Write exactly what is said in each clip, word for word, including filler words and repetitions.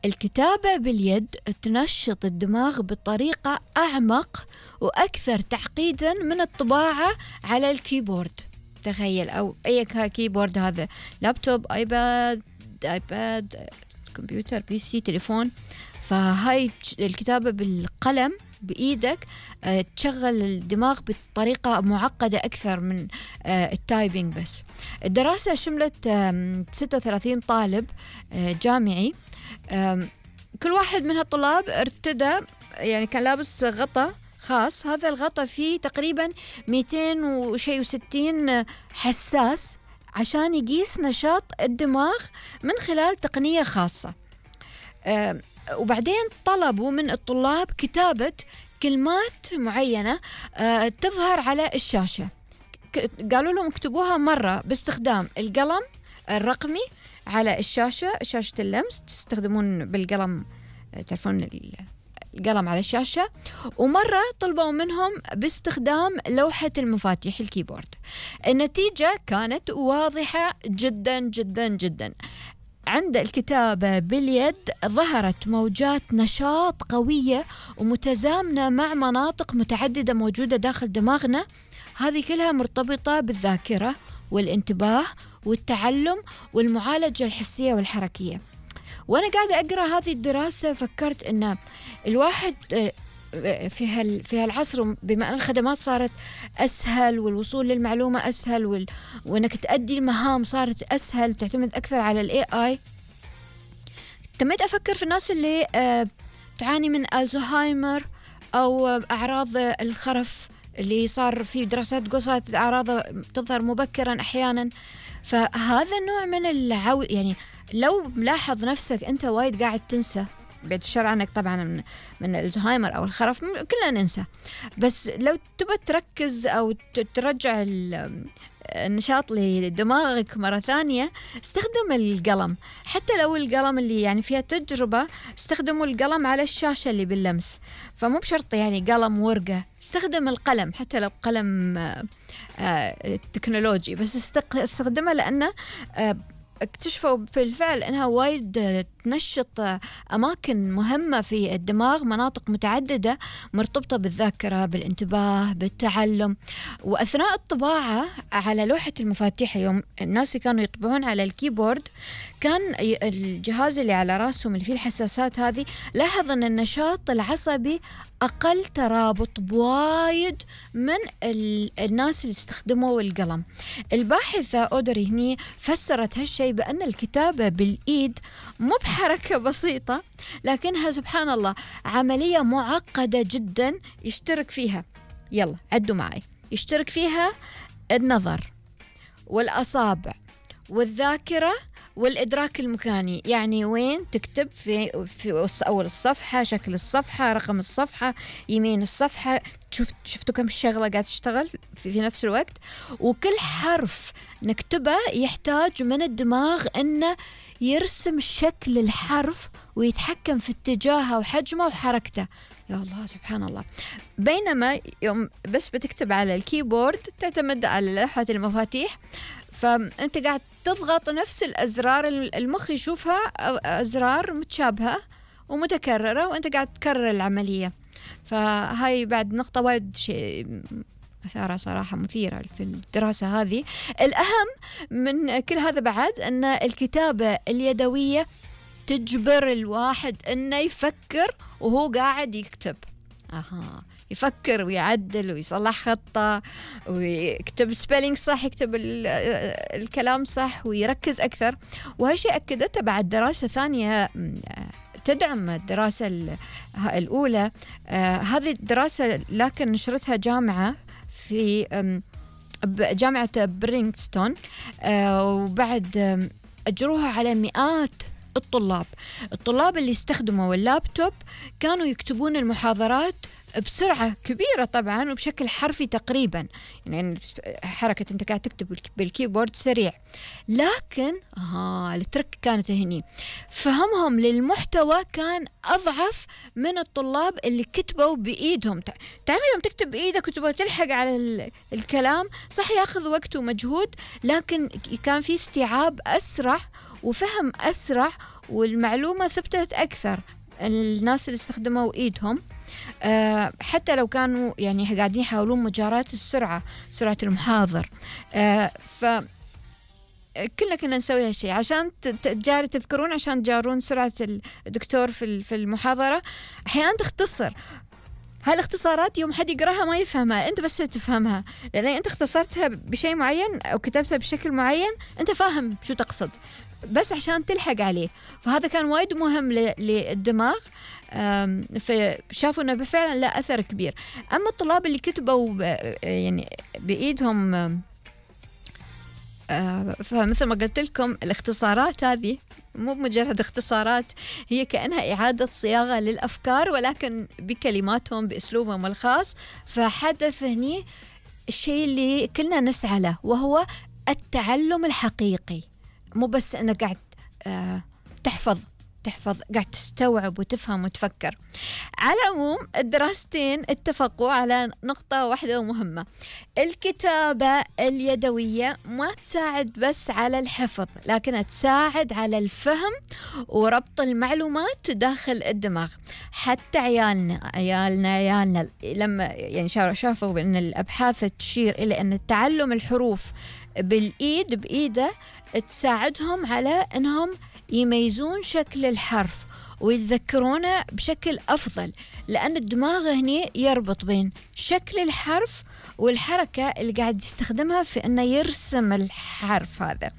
الكتابة باليد تنشط الدماغ بطريقة أعمق وأكثر تعقيدا من الطباعة على الكيبورد. تخيل، أو أي كيبورد، هذا لابتوب، آيباد آيباد كمبيوتر، بي سي، تليفون. فهاي الكتابة بالقلم بإيدك تشغل الدماغ بطريقة معقدة أكثر من التايبينج. بس الدراسة شملت ستة وثلاثين طالب جامعي، كل واحد من هالطلاب ارتدى، يعني كان لابس غطاء خاص، هذا الغطاء فيه تقريبا مئتين وشي وستين حساس عشان يقيس نشاط الدماغ من خلال تقنية خاصة. وبعدين طلبوا من الطلاب كتابة كلمات معينة تظهر على الشاشة. قالوا لهم اكتبوها مرة باستخدام القلم الرقمي على الشاشة، شاشة اللمس، تستخدمون بالقلم، تعرفون القلم على الشاشة، ومرة طلبوا منهم باستخدام لوحة المفاتيح الكيبورد. النتيجة كانت واضحة جدا جدا جدا. عند الكتابة باليد ظهرت موجات نشاط قوية ومتزامنة مع مناطق متعددة موجودة داخل دماغنا، هذه كلها مرتبطة بالذاكرة والانتباه والتعلم والمعالجة الحسية والحركية. وأنا قاعدة أقرأ هذه الدراسة فكرت أن الواحد في هال في هالعصر، بما أن الخدمات صارت أسهل والوصول للمعلومة أسهل وال... وأنك تأدي المهام صارت أسهل وتعتمد أكثر على ال إيه آي، تميت أفكر في الناس اللي آه تعاني من الزهايمر أو أعراض الخرف، اللي صار في دراسات تقول صارت أعراض تظهر مبكرا أحيانا. فهذا النوع من العو يعني لو ملاحظ نفسك أنت وايد قاعد تنسى، بعد الشر عنك طبعا من من الزهايمر أو الخرف، كلنا ننسى، بس لو تبى تركز أو ترجع النشاط لدماغك مرة ثانية، استخدم القلم. حتى لو القلم اللي يعني فيها تجربة، استخدموا القلم على الشاشة اللي باللمس، فمو بشرط يعني قلم ورقة، استخدم القلم حتى لو قلم آآ آآ تكنولوجي، بس استخدمه لأنه اكتشفوا بالفعل أنها وايد تنشط أماكن مهمة في الدماغ، مناطق متعددة مرتبطة بالذاكرة، بالانتباه، بالتعلم. وأثناء الطباعة على لوحة المفاتيح، يوم الناس كانوا يطبعون على الكيبورد، كان الجهاز اللي على راسهم اللي فيه الحساسات هذه لاحظ أن النشاط العصبي أقل ترابط بوايد من الناس اللي استخدموا القلم. الباحثة أودري هني فسرت هالشيء بأن الكتابة بالإيد مو بحركة بسيطة، لكنها سبحان الله عملية معقدة جدا يشترك فيها، يلا عدوا معي، يشترك فيها النظر والأصابع والذاكرة والإدراك المكاني. يعني وين تكتب في في أول الصفحة، شكل الصفحة، رقم الصفحة، يمين الصفحة، شفت شفتوا كم شغلة قاعد تشتغل في, في نفس الوقت. وكل حرف نكتبه يحتاج من الدماغ إنه يرسم شكل الحرف ويتحكم في اتجاهه وحجمه وحركته. يا الله سبحان الله. بينما يوم بس بتكتب على الكيبورد تعتمد على لوحة المفاتيح، فأنت قاعد تضغط نفس الأزرار، المخ يشوفها أزرار متشابهة ومتكررة وأنت قاعد تكرر العملية. فهاي بعد نقطة وايد شيء أثارة صراحة مثيرة في الدراسة هذه. الأهم من كل هذا بعد أن الكتابة اليدوية تجبر الواحد أنه يفكر وهو قاعد يكتب. أها، يفكر ويعدل ويصلح خطة ويكتب سبيلينج صح، يكتب الكلام صح ويركز أكثر. وهالشيء أكدته بعد دراسة ثانية تدعم الدراسة الأولى. آه هذه الدراسة لكن نشرتها جامعة في جامعة برينغستون، آه وبعد أجروها على مئات الطلاب. الطلاب اللي استخدموا اللابتوب كانوا يكتبون المحاضرات بسرعة كبيرة طبعا وبشكل حرفي تقريبا، يعني حركة أنت قاعد تكتب بالكيبورد سريع. لكن آه الترك كانت هني، فهمهم للمحتوى كان أضعف من الطلاب اللي كتبوا بإيدهم. تعرف يوم تكتب بإيدك وتبغى تلحق على الكلام صح ياخذ وقت ومجهود، لكن كان في استيعاب أسرع وفهم أسرع والمعلومة ثبتت أكثر. الناس اللي استخدموا إيدهم أه حتى لو كانوا يعني قاعدين يحاولون مجاراة السرعة، سرعة المحاضر. أه ف كلنا كنا نسوي هالشيء عشان تجاري تذكرون، عشان تجارون سرعة الدكتور في في المحاضرة. أحيانا تختصر هالاختصارات يوم حد يقراها ما يفهمها، أنت بس تفهمها لأن أنت اختصرتها بشيء معين أو كتبتها بشكل معين أنت فاهم شو تقصد، بس عشان تلحق عليه. فهذا كان وايد مهم للدماغ، فشافوا انه فعلا لا اثر كبير. اما الطلاب اللي كتبوا يعني بايدهم، فمثل ما قلت لكم الاختصارات هذه مو مجرد اختصارات، هي كأنها إعادة صياغة للأفكار ولكن بكلماتهم بأسلوبهم الخاص. فحدث هني الشيء اللي كلنا نسعى له وهو التعلم الحقيقي، مو بس أنك قاعد آه تحفظ تحفظ قاعد تستوعب وتفهم وتفكر. على العموم الدراستين اتفقوا على نقطة واحدة مهمة، الكتابة اليدوية ما تساعد بس على الحفظ لكنها تساعد على الفهم وربط المعلومات داخل الدماغ. حتى عيالنا عيالنا عيالنا لما يعني شافوا أن الأبحاث تشير إلى أن تعلم الحروف بالإيد بإيده تساعدهم على أنهم يميزون شكل الحرف ويتذكرونه بشكل أفضل، لأن الدماغ هنا يربط بين شكل الحرف والحركة اللي قاعد يستخدمها في أنه يرسم الحرف هذا.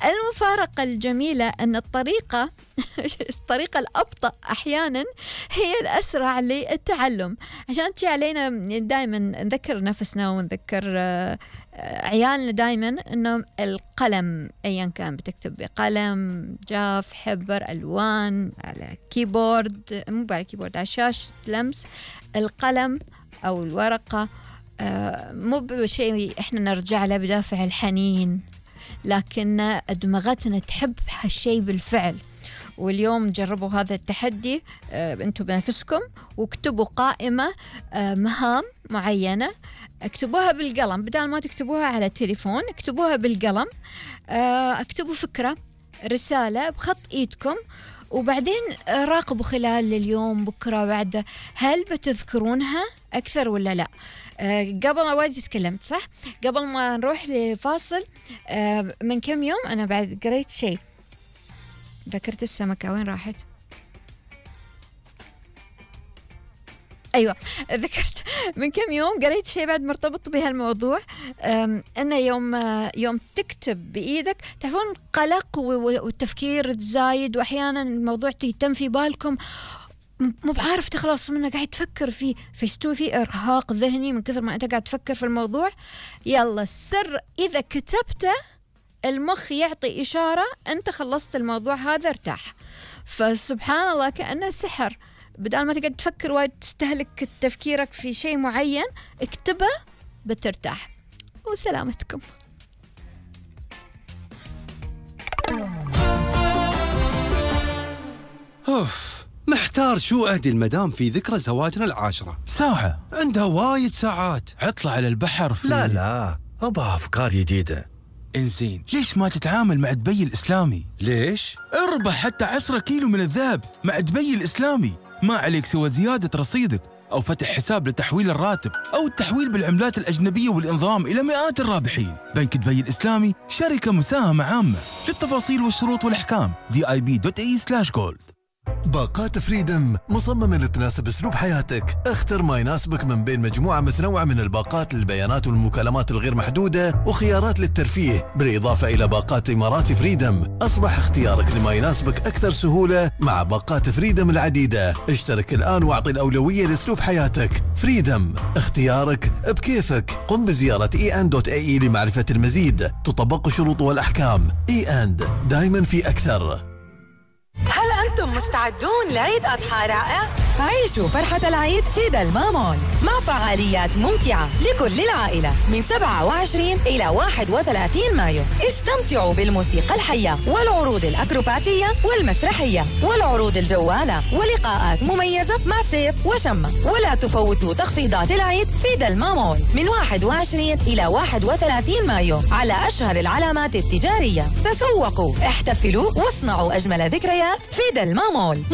المفارقة الجميلة أن الطريقة الطريقة الأبطأ أحيانا هي الأسرع للتعلم، عشان تجي علينا دائما نذكر نفسنا ونذكر عيالنا دائما أنه القلم أيا كان بتكتب بقلم جاف حبر ألوان على كيبورد، مو على كيبورد على شاشة لمس، القلم أو الورقة مو بشيء إحنا نرجع له بدافع الحنين، لكن دماغتنا تحب هالشيء بالفعل. واليوم جربوا هذا التحدي أنتم بنفسكم واكتبوا قائمة مهام معينة، اكتبوها بالقلم بدل ما تكتبوها على التليفون، اكتبوها بالقلم، اكتبوا فكرة رسالة بخط ايدكم وبعدين راقبوا خلال اليوم بكرة بعد هل بتذكرونها أكثر ولا لا. أه قبل وايد تكلمت صح، قبل ما نروح لفاصل أه من كم يوم أنا بعد قريت شيء، ذكرت السمكة وين راحت؟ أيوة ذكرت من كم يوم قريت شيء بعد مرتبط بهالموضوع، أنه يوم يوم تكتب بإيدك تعرفون قلق والتفكير تزايد، وأحيانا الموضوع يتم في بالكم مو بعارف تخلص منه، قاعد تفكر فيه فيستوي فيه إرهاق ذهني من كثر ما أنت قاعد تفكر في الموضوع. يلا السر إذا كتبته المخ يعطي إشارة أنت خلصت الموضوع هذا ارتاح. فسبحان الله كأنه سحر، بدل ما تقعد تفكر وايد تستهلك تفكيرك في شيء معين اكتبه بترتاح. وسلامتكم. أوف محتار شو أهدي المدام في ذكرى زواجنا العاشرة. ساعة عندها وايد ساعات. عطلة على البحر في لا لا أبغى أفكار جديدة. إنزين ليش ما تتعامل مع دبي الإسلامي؟ ليش؟ اربح حتى عشرة كيلو من الذهب مع دبي الإسلامي، ما عليك سوى زيادة رصيدك أو فتح حساب لتحويل الراتب أو التحويل بالعملات الأجنبية والإنضمام إلى مئات الرابحين. بنك دبي الإسلامي شركة مساهمة عامة. للتفاصيل والشروط والأحكام دي آي بي دوت إي سلاش جولد. باقات فريدم مصممة لتناسب أسلوب حياتك. اختر ما يناسبك من بين مجموعة متنوعة من الباقات للبيانات والمكالمات الغير محدودة وخيارات للترفيه، بالإضافة إلى باقات إمارات فريدم. أصبح اختيارك لما يناسبك أكثر سهولة مع باقات فريدم العديدة. اشترك الآن واعطي الأولوية لأسلوب حياتك. فريدم، اختيارك بكيفك. قم بزيارة إي أند دوت إي إي لمعرفة المزيد. تطبق الشروط والأحكام. إي أند دايما في أكثر. هل أنتم مستعدون لعيد أضحى رائع؟ عيشوا فرحة العيد في دلما مول مع فعاليات ممتعة لكل العائلة من سبعة وعشرين إلى واحد وثلاثين مايو. استمتعوا بالموسيقى الحية والعروض الأكروباتية والمسرحية والعروض الجوالة ولقاءات مميزة مع سيف وشمة. ولا تفوتوا تخفيضات العيد في دلما مول من واحد وعشرين إلى واحد وثلاثين مايو على أشهر العلامات التجارية. تسوقوا، احتفلوا واصنعوا أجمل ذكريات في دلما مول.